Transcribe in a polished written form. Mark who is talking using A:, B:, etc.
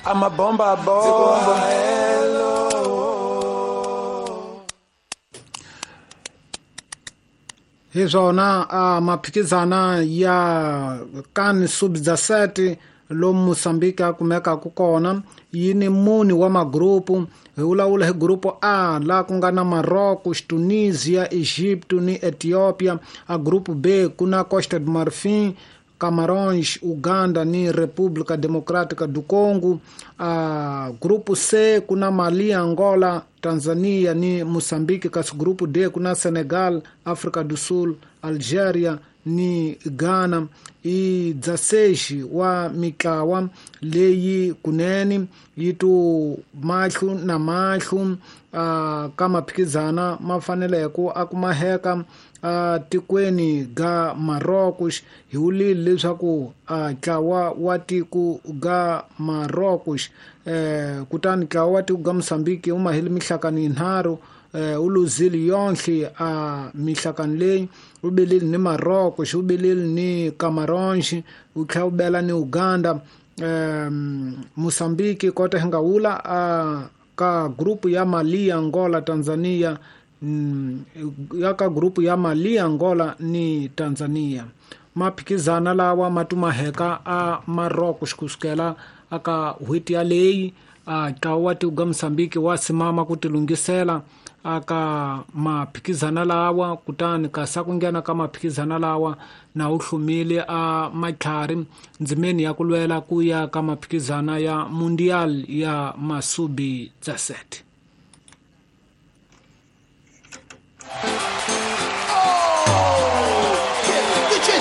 A: Amabomba bomba.
B: Hi swona a maphikizana ya kan sub-17 lomu Mozambique a kumekaka kona yi ni mune wa magrupu. Hi vulavula hi grupu A laha ku nga na Morocco, Tunisia, Egypt ni Ethiopia. A grupu B ku na Costa do Marfim, Camarões, Uganda ni República Democrática do Congo. A grupo C ku na Mali, Angola, Tanzania ni Mozambique. Kasi grupo D ku na Senegal, África do Sul, Algeria ni Ghana. I 16 wa mitlawa leyi kunene yi tu mahlu na mahlu ka maphikizana ma faneleke a kumaheka tikweni ga Morocco. Hi vulile leswaku ntlawa wa tiko ga Morocco, kutani ntlawa wa tiko ga Mozambique wu mahile mihlakano yinharhu, wu luzile yonhle a mihlakano leyi, wu belile ni Morocco, wu belile ni Camarões, wu tlhela wu bela ni Uganda. Mozambique kota hi nga wula ka grupu ya Mali, Angola, Tanzania, ya ka grupu ya Mali, Angola ni Tanzania. Maphikizana lawa ma tumaheka a Morocco kusukela aka n'hweti yaleyi. Ntlawa wa tiko ga Mozambique wa simama ku tilunghisela aka maphikizana lawa, kutani kasi ku nghena ka maphikizana lawa na wu hlumile a matlhari ndzimeni ya ku lwela ku ya ka maphikizana ya Mundial ya masubi 17.